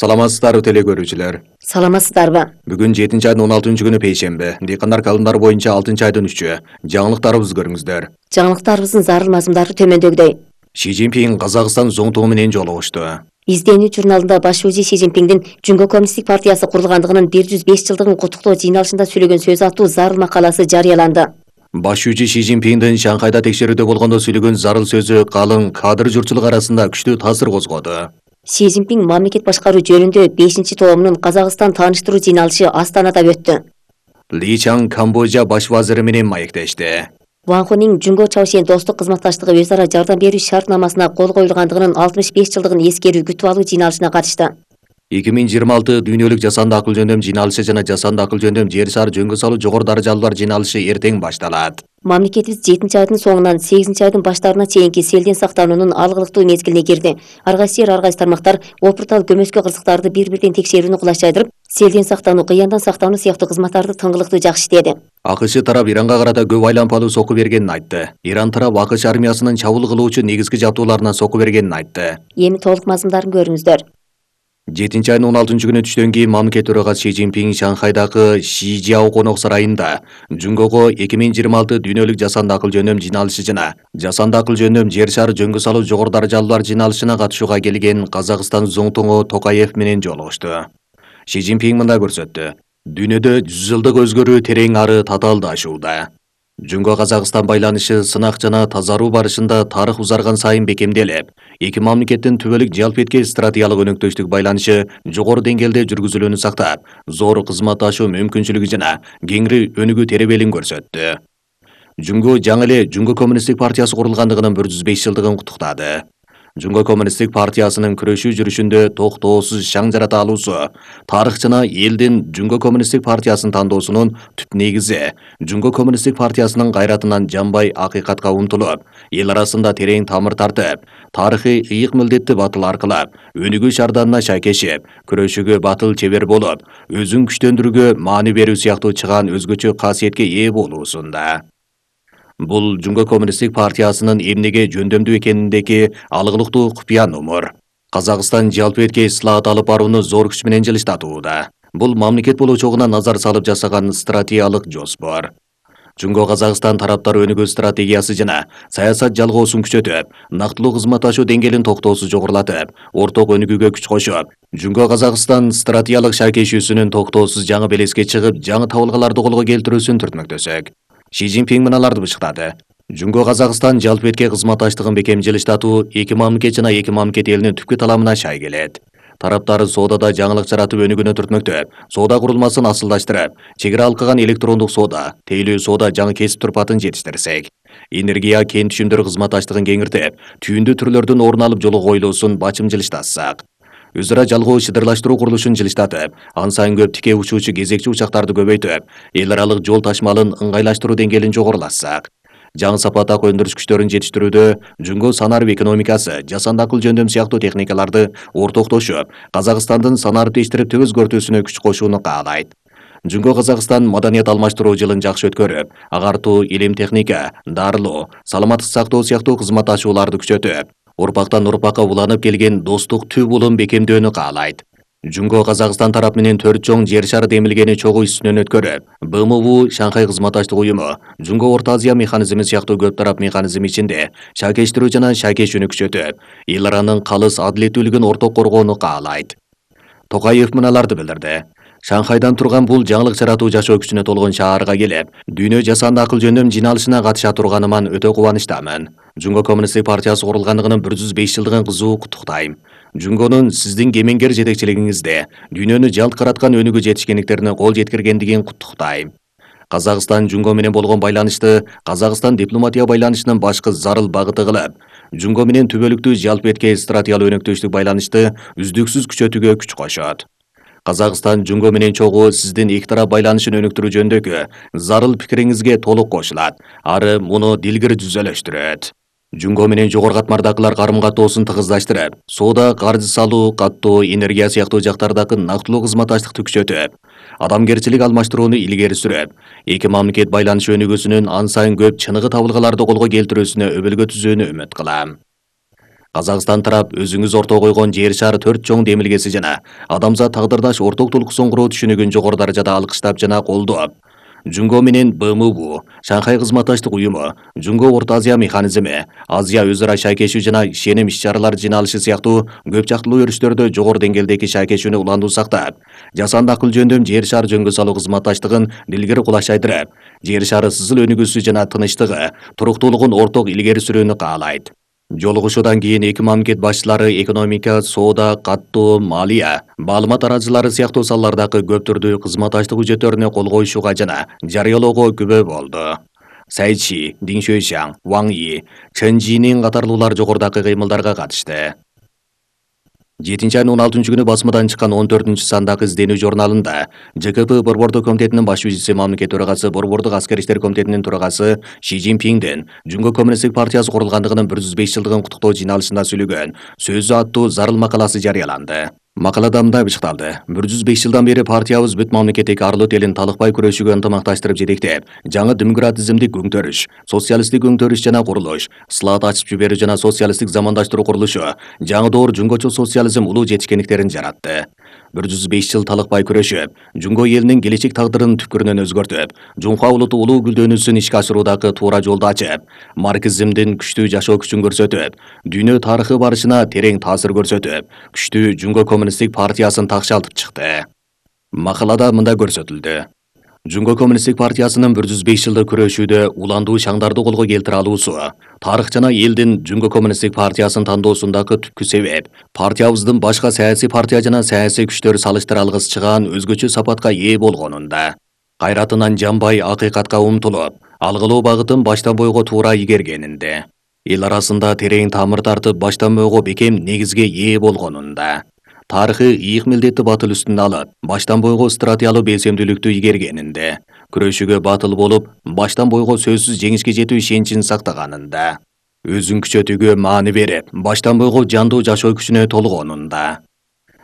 Саламатсыздарбы теле көрүүчүлөр. Саламатсыздарбы? Бүгүн 7-айдын 16-күнү пейшемби. Дыйкандар календарь боюнча 6-айдын 3-ü. Жаңылыктарыбызды көрүңүздөр. Жаңылыктарыбыздын зарыл мазмундары төмөндөгүдөй. Ши Цзиньпин Казакстан зоңтугу менен жолугушту. Изденүү журналында баш өзи Ши Цзиньпиндин Жүнгө коммунисттик партиясы курулгандыгынын 105 жылдыгын куттуктоо жыйналышында сүйлөгөн сөз аттуу зарыл макаласы жарыяланды. Баш өзи Ши Цзиньпиндин Шанхайда текшерүүдө болгондо сүйлөгөн зарыл сөзү калың кадыр журтчулук арасында күчтүү таасир козгоду. Ши Цзиньпин мамлекет башкаруу жөнүндө 5-тоомунун Казакстан тааныштыруу жыйналышы Астанада өттү. Ли Чан Камбожа баш вазири менен маектешти. Ван Хуның Жүнгө Чаошен достук кызматташтыгы өз ара жардам берүү шартнамасына кол коюлгандыгынын 65 жылдыгын эскерүү күтүп алуу жыйналышына катышты. 2026 дүйнөлүк жасанды акыл жөндөм жыйналышы жана жасанды акыл жөндөм жер шаар жөнгө салуу жогору даражалуулар жыйналышы эртең башталат. Мамлекетибиз 7-айдын соңунан 8-айдын баштарына чейинки селден сактануунун алгылыктуу мезгилине кирди. Ар кайсы тармактар опуртал көмөскө кырсыктарды бир-бирден текшерүүнү кулайчайдырып, селден сактануу, кыяндан сактануу сыяктуу кызматтарды тыңгылыктуу жакшы иштеди. АКШ тарап Иранга карата көп айлампалуу сокку бергенин айтты. Иран тарап АКШ армиясынын чабуул кылуучу негизги жабдууларына сокку бергенин айтты. Эми толук мазмундарын көрүңүздөр. 7-айдын 16-күнү түштөн кийин мамлекет төрагасы Ши Цзиньпин Шанхайдагы Шижиао конок сарайында Жүнгөгө 2026 дүйнөлүк жасанды акыл жөндөм жыйналышы жана жасанды акыл жөндөм жер шаар жөнгө салуу жогору даражалуулар жыйналышына катышууга келген Казакстан зоңтугу Токаев менен жолугушту. Ши Цзиньпин мындай көрсөттү. Дүйнөдө 100 жылдык өзгөрүү терең ары татаалдашууда. Жүнгө Казакстан байланышы сынак жана тазаруу барышында тарых узарган сайын бекемделип, эки мамлекеттин түбөлүк жалпы эткен стратегиялык өнөктөштүк байланышы жогору деңгээлде жүргүзүлүүнү сактап, зор кызматташуу мүмкүнчүлүгү жана кеңири өнүгүү теребелин көрсөттү. Жүнгө жаңы эле Жүнгө коммунисттик партиясы курулгандыгынын 105 жылдыгын куттуктады. Жүнгө коммунисттик партиясынын күрөшүү жүрүшүндө токтоосуз шаң жарата алуусу, тарых жана элдин Жүнгө коммунисттик партиясын тандоосунун түп негизи, Жүнгө коммунисттик партиясынын кайратынан жанбай акыйкатка умтулуп, эл арасында терең тамыр тартып, тарыхый ыйык милдетти батыл аркылап, өнүгүү шарданына шайкешип, күрөшүүгө батыл чебер болуп, өзүн күчтөндүрүүгө маани берүү сыяктуу чыгаан өзгөчө касиетке ээ болуусунда. Бул Жүнгө коммунисттик партиясынын эмнеге жөндөмдүү экениндеги алгылыктуу купуя номур. Казакстан жалпы этке ислаат алып барууну зор күч менен жылыштатууда. Бул мамлекет болочогуна назар салып жасаган стратегиялык жоспор. Жүнгө Казакстан тараптары өнүгүү стратегиясы жана саясат жалгоосун күчөтүп, нактылуу кызматташуу деңгээлин токтоосуз жогорулатып, орток өнүгүүгө күч кошуп, Жүнгө Казакстан стратегиялык шайкешүүсүнүн токтоосуз жаңы белеске чыгып, жаңы табылгаларды колго келтирүүсүн түртмөктөсөк. Ши Цзиньпин мыналарды бышыктады. Жүнгө Казакстан жалпы этке кызматташтыгын бекем жылыштатуу эки мамлекет жана эки мамлекет элинин түпкү таламына шай келет. Тараптар соодада жаңылык жаратып өнүгүүнү түртмөктөп, соода курулмасын асылдаштырып, чегара алкаган электрондук соода, тейлүү соода жаңы кесип турпатын жетиштирсек, энергия кен түшүмдөр кызматташтыгын кеңиртип, түйүндүү түрлөрдүн орун алып жолу коюлуусун бачым жылыштатсак, өз ара жалгоо шыдырлаштыруу курулушун жылыштатып, ан сайын көп тике учуучу кезекчи учактарды көбөйтүп, эл аралык жол ташмалын ыңгайлаштыруу деңгээлин жогорулатсак, жаңы сапаттагы өндүрүш күчтөрүн жетиштирүүдө Жүнгө санарып экономикасы, жасанды акыл жөндөм сыяктуу техникаларды ортоктошуп, Казакстандын санарып тештирип төз өзгөртүүсүнө күч кошууну каалайт. Жүнгө Казакстан маданият алмаштыруу жылын жакшы өткөрүп, агартуу, илим техника, дарылоо, саламаттык сактоо сыяктуу кызматташууларды күчөтүп, урпактан урпакка уланып келген достук түп улум бекемдөөнү каалайт. Жүнгө Казакстан тарап менен 4 чоң жер шары демилгени чогуу ишинен өткөрүп, БМУ, Шанхай кызматташтык уюму, Жүнгө Орто Азия механизми сыяктуу көп тарап механизм ичинде шайкештирүү жана шайкешүүнү күчөтүп, эл аранын калыс адилеттүүлүгүн орток коргоону каалайт. Токаев мыналарды билдирди. Шанхайдан турган бул жаңылык жаратуу жашоо күчүнө толгон шаарга келип, дүйнө жасанды акыл жөндөм жыйналышына катыша турганыман өтө кубанычтамын. Жүнгө коммунисттик партиясы курулгандыгынын 105 жылдыгын кызуу куттуктайм. Жүнгөнүн сиздин кемеңгер жетекчилигиңизде дүйнөнү жалт караткан өнүгүү жетишкендиктерине кол жеткиргендигин куттуктайм. Казакстан Жүнгө менен болгон байланышты Казакстан дипломатия байланышынын башкы зарыл багыты кылып, Жүнгө менен түбөлүктүү жалпы этке стратегиялык өнөктөштүк байланышты үздүксүз күчөтүүгө күч кошот. Казакстан Жүнгө менен чогуу сиздин эки тарап байланышын өнүктүрүү жөнүндөгү зарыл пикириңизге толук кошулат, ары муну дилгир түзөлөштүрөт. Жүнгө менен жогору катмардагылар карым-катоосун тыгыздаштырып, соода, каржы салуу, каттоо, энергия сыяктуу жактардагы нактылуу кызматташтыкты күчөтүп, адамгерчилик алмаштырууну илгери сүрөп, эки мамлекет байланышы өнүгүүсүнүн ан сайын көп чыныгы табылгаларды колго келтирүүсүнө өбөлгө түзүүнү үмүт кылам. Казакстан тарап өзүңүз орто койгон жер шары 4 чоң демилгеси жана адамзат тагдырдаш орток толкусон куруу түшүнүгүн жогору даражада алкыштап жана колдоп, Жунго менен БМУ, Шанхай кызматташтык уюму, Жунго Орто Азия механизми, Азия өз ара шайкешүү жана ишеним иш-чаралар жиналышы сыяктуу көп жактылуу өрүштөрдө жогору деңгээлдеги шайкешүүнү уландуу сактап, жасанды акыл жөндөм жер шары жөнгө салуу кызматташтыгын дилгери кулашайдырып, жер шары сызыл өнүгүүсү жана тынычтыгы, туруктуулугун орток илгери сүрүүнү каалайт. Жолугушуудан кийин эки мамлекет башчылары экономика, соода, каттоо, малия, маалымат арачылары сыяктуу салалардагы көп түрдүү кызматташтык үжөттөрүнө кол коюшууга жана жарыялоого күбө болду. Цай Чи, Дин Шуйшаң, Ваң И, Чен Жинин катарлуулар жогорудагы кыймылдарга катышты. 7-айдын 16-күнү басмадан чыккан 14-сандагы изденүү журналында ЖКП Борбордук комитетинин баш жүзүчүсү мамлекет төрагасы Борбордук аскер иштер комитетинин төрагасы Ши Цзиньпиңдин Жунго коммунисттик партиясы курулгандыгынын 105 жылдыгын куттуктоо жиналышында сүйлөгөн сөзү аттуу зарыл макаласы жарыяланды. Макалада мындай бышыкталды: 105 жылдан бери партиябыз бүт мамлекеттик арлык элин талыкпай күрөшүүгө ынтымакташтырып жетектеп, жаңы демократизмдик өңтөрүш, социалисттик өңтөрүш жана курулуш, слат ачып жиберүү жана социалисттик замандаштыруу курулушу, жаңы доор жунгочу социализм улуу жетишкендиктерин жаратты. 105 жыл талыкпай күрөшүп, Жунго элинин келечек тагдырын түпкүрүнөн өзгөртүп, Жунхва улуту улуу гүлдөнүүсүн ишке ашыруудагы туура жолду ачып, марксизмдин күчтүү жашоо күчүн көрсөтүп, дүйнө тарыхы барышына терең таасир көрсөтүп, күчтүү Жунго коммунисттик партиясын такшалтып чыкты. Макалада мындай көрсөтүлдү: Жунго коммунисттик партиясынын 105 жылдык күрөшүүдө уландуу шаңдарды колго келтире алуусу, тарых жана элдин Жунго коммунисттик партиясын тандоосундагы түпкү себеп, партиябыздын башка саясий партия жана саясий күчтөр салыштыра алгыс чыгаан өзгөчө сапатка ээ болгонунда, кайратынан жанбай акыйкатка умтулуп, алгылоо багытын баштан бойго туура игергенинде, эл арасында терең тамыр тартып баштан бойго бекем негизге ээ болгонунда, тарыхы ийик милдетти батыл үстүнө алып, баштан бойго стратегиялуу белсемдүүлүктү игергенинде, күрөшүүгө батыл болуп, баштан бойго сөзсүз жеңишке жетүү ишеничин сактаганында, өзүн күчөтүүгө маани берип, баштан бойго жандуу жашоо күчүнө толгонунда,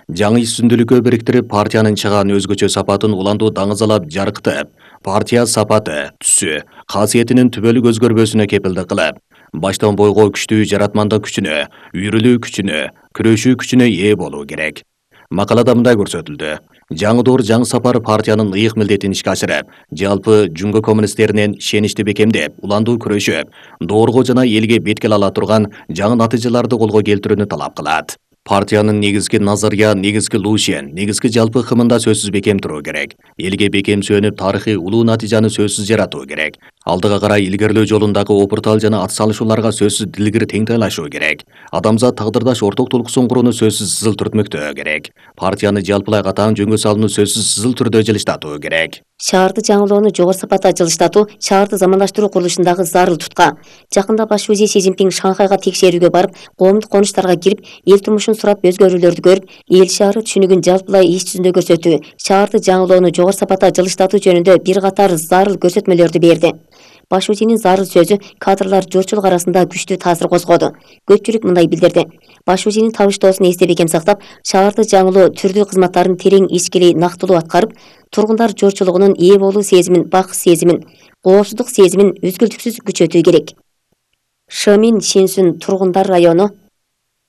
жаңы үстүндүүлүккө бириктирип, партиянын чыгаан өзгөчө сапатын уландуу даңызалап жарыктып, партия сапаты, түсү, касиетинин түбөлүк өзгөрбөсүнө кепилдик кылып, баштан бойго күчтүү жаратмандык күчүнө, үйрүлүү күчүнө, күрөшүү күчүнө ээ болуу керек. Макалада мындай көрсөтүлдү: жаңы доор жаңы сапар партиянын ыйык милдетин ишке ашырып, жалпы Жунго коммунисттеринен ишеничти бекемдеп, уландуу күрөшүп, доорго жана элге беткел ала турган жаңы натыйжаларды колго келтирүүнү талап кылат. Партиянын негизги назария, негизги лушен, негизги жалпы кымында сөзсүз бекем туруу керек. Элге бекем сүйөнүп, тарыхый улуу натыйжаны сөзсүз жаратуу керек. Алдыга карай илгерлөө жолундагы опуртал жана ат салышууларга сөзсүз дилгир теңтайлашуу керек. Адамзат тагдырдаш орток толкусон курууну сөзсүз сызыл түртмөктөө керек. Партияны жалпылай катаң жөнгө салууну сөзсүз сызыл түрдө жылыштатуу керек. Шаарды жаңылоону жогору сапатта жылыштатуу шаарды замандаштыруу курулушундагы зарыл тутка. Жакында баш вазир Си Цзиньпиң Шанхайга текшерүүгө барып, коомдук конуштарга кирип, эл турмушун сурап өзгөрүүлөрдү көрүп, эл шаары түшүнүгүн жалпылай иш жүзүндө көрсөтүү, шаарды жаңылоону жогору сапатта жылыштатуу жөнүндө бир катар зарыл көрсөтмөлөрдү берди. Баш вазирдин зарыл сөзү кадрлар журтчулук арасында күчтүү таасир козгоду. Көпчүлүк мындай билдирди: баш вазирдин табыштоосун эсте бекем сактап, шаарды жаңылоо түрдүү кызматтарын терең ичкилей нактылуу аткарып, тургундар журтчулугунун ээ болуу сезимин, бак сезимин, коопсуздук сезимин үзгүлтүксүз күчөтүү керек. Шымин Шинсүн тургундар району,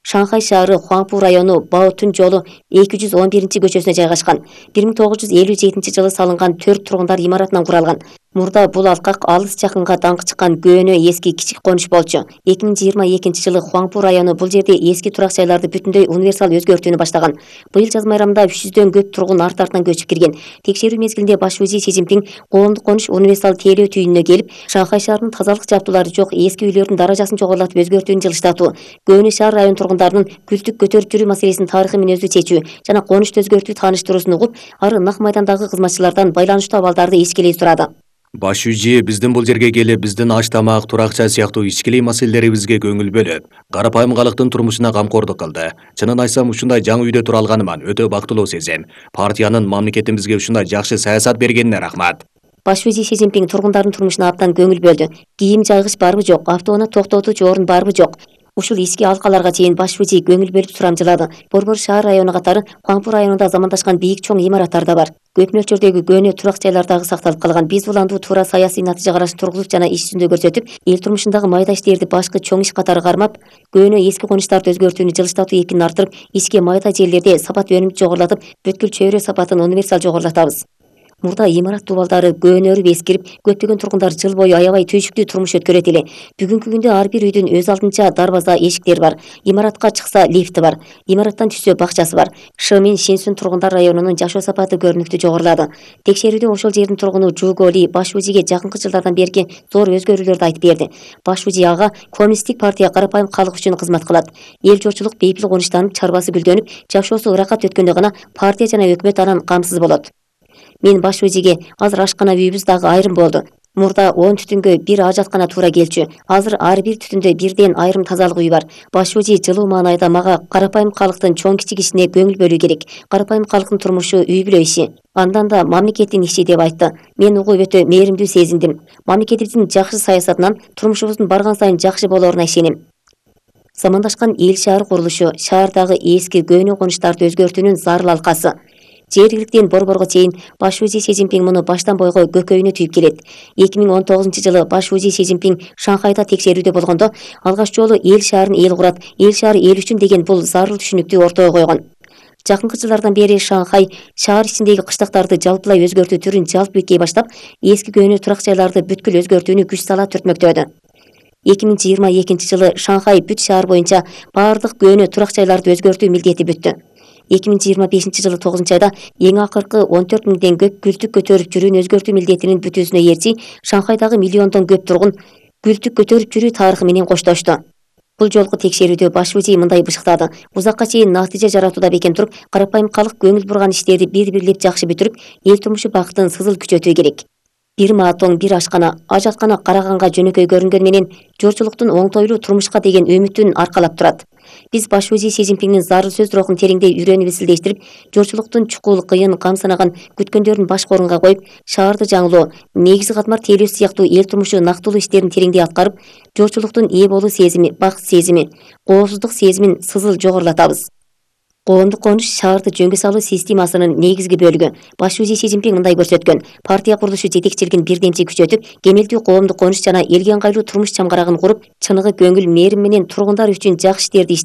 Шанхай шаары Хуаңпу району Баотун жолу 211 көчөсүнө жайгашкан. 1957 жылы салынган 4 тургундар имаратынан куралган. Мурда бул алкак алыс жакынга даңкы чыккан көөнө эски кичик конуш болчу. 2022 жылы Хуаңпу району бул жерде эски турак жайларды бүтүндөй универсал өзгөртүүнү баштаган. Быйыл жаз майрамында 300дөн көп тургун арт-артынан көчүп кирген. Текшерүү мезгилинде баш вазир Си Цзиньпиң коомдук конуш универсал тейлөө түйүнүнө келип, Шанхай шаарынын тазалык жабдуулары жок эски үйлөрдүн даражасын жогорулатып өзгөртүүнү жылыштатуу, көөнө шаар район тургундарынын күлтүк көтөрүп жүрүү маселесин тарыхый мүнөздүү чечүү жана конушту өзгөртүү тааныштыруусун угуп, ары нак майдандагы кызматчылардан байланыштуу абалдарды ичкилей сурады. Баш жүзү биздин бул жерге келип, биздин аш тамак, туракча сыяктуу ичкилей маселелерибизге көңүл бөлүп, карапайым калктын турмушуна камкордук кылды. Чынын айтсам, ушундай жаңы үйдө тура алганыман өтө бактылуу сезем. Партиянын мамлекетибизге ушундай жакшы саясат бергенине рахмат. Баш вазир Си Цзиньпиң тургундардын турмушуна абдан көңүл бөлдү. Кийим жайгыч барбы жок, автоунаа токтотуучу орун барбы жок, Ушул иске алкаларга чейин баш выжи көңүл бөлүп сурамжылады. Борбор шаар району катары Хуаңпу районунда замандашкан бийик чоң имараттар да бар. Көп мөлчөрдөгү көөнө турак жайлар дагы сакталып калган. Биз уланду туура саясий натыйжа карашын тургузуп жана иш жүзүндө көрсөтүп, эл турмушундагы майда иштерди башкы чоң иш катары кармап, көөнө эски конуштарды өзгөртүүнү жылыштатуу экинин арттырып, ишке майда жерлерде сапат өнүмдү жогорулатып, бүткүл чөйрө сапатын универсал жогорулатабыз. Мурда имарат дубалдары көөнөрүп эскирип, көптөгөн тургундар жыл бою аябай түйшүктүү турмуш өткөрөт эле. Бүгүнкү күндө ар бир үйдүн өз алдынча дарбаза, эшиктери бар. Имаратка чыкса лифти бар. Имараттан түшсө бакчасы бар. Шымин Шинсүн тургундар районунун жашоо сапаты көрүнүктүү жогорулады. Текшерүүдө ошол жердин тургуну Жуголи баш выжиге жакынкы жылдардан берки зор өзгөрүүлөрдү айтып берди. Баш выжи ага коммунисттик партия карапайым калк үчүн кызмат кылат. Эл журтчулук бейпил конуштанып, чарбасы гүлдөнүп, жашоосу ырахат өткөндө гана партия жана өкмөт анан камсыз болот. Мен баш выжиге азыр ашкана үйүбүз дагы айрым болду. Мурда 10 түтүнгө бир ажаткана туура келчү. Азыр ар бир түтүндө бирден айрым тазалык үй бар. Баш выжи жылуу маанайда мага карапайым калктын чоң кичик ишине көңүл бөлүү керек. Карапайым калктын турмушу үй бүлө иши. Андан да мамлекеттин иши деп айтты. Мен угуп өтө мээримдүү сезиндим. Мамлекетибиздин жакшы саясатынан турмушубуздун барган сайын жакшы болоруна ишенем. Замандашкан эл шаар курулушу шаардагы эски көөнө конуштарды өзгөртүүнүн зарыл алкасы. Жергиликтен борборго чейин баш выжи Си Цзиньпин муну баштан бойго көкөйүнө түйүп келет. 2019-жылы баш выжи Си Цзиньпин Шанхайда текшерүүдө болгондо алгач жолу эл шаарын эл курат, эл шаары эл үчүн деген бул зарыл түшүнүктү ортого койгон. Жакынкы жылдардан бери Шанхай шаар ичиндеги кыштактарды жалпылай өзгөртүү түрүн жалп бекей баштап, эски көөнө турак жайларды бүткүл өзгөртүүнү күч сала түртмөктөдү. 2022-жылы Шанхай бүт шаар боюнча баардык көөнө турак жайларды өзгөртүү милдети бүттү. 2025-жылы 9-айда эң акыркы 14 миңден көп күлтүк көтөрүп жүрүүнү өзгөртүү милдетинин бүтүүсүнө ээрчи Шанхайдагы миллиондон көп тургун күлтүк көтөрүп жүрүү тарыхы менен коштошту. Бул жолку текшерүүдө баш выжи мындай бышыктады. Узакка чейин натыйжа жаратууда бекем туруп, карапайым калк көңүл бурган иштерди бир-бирлеп жакшы бүтүрүп, эл турмушу бактын сызыл күчөтүү керек. Бир маатоң, бир ашкана, ажаткана караганга жөнөкөй көрүнгөнү менен журтчулуктун оңтойлуу турмушка деген үмүтүн аркалап турат. Биз баш выжи Си Цзиньпиндин зарыл сөз рухун тереңдей үйрөнүп изилдештирип, журтчулуктун чукул, кыйын, камсынаган күткөндөрүн баш орунга коюп, шаарды жаңылоо, негизи катмар тейлөө сыяктуу эл турмушу нактылуу иштерин тереңдей аткарып, журтчулуктун ээ болуу сезими, бакыт сезими, коопсуздук сезимин сызыл жогорулатабыз. Коомдук конуш шаарды жөнгө салуу системасынын негизги бөлүгү. Баш выжи Си Цзиньпин мындай көрсөткөн. Партия курулушу жетекчилигин бирдемчи күчөтүп, кемелдүү коомдук конуш жана элге ыңгайлуу турмуш чамгарагын куруп, чыныгы көңүл мээрим менен тургундар үчүн жакшы иштерди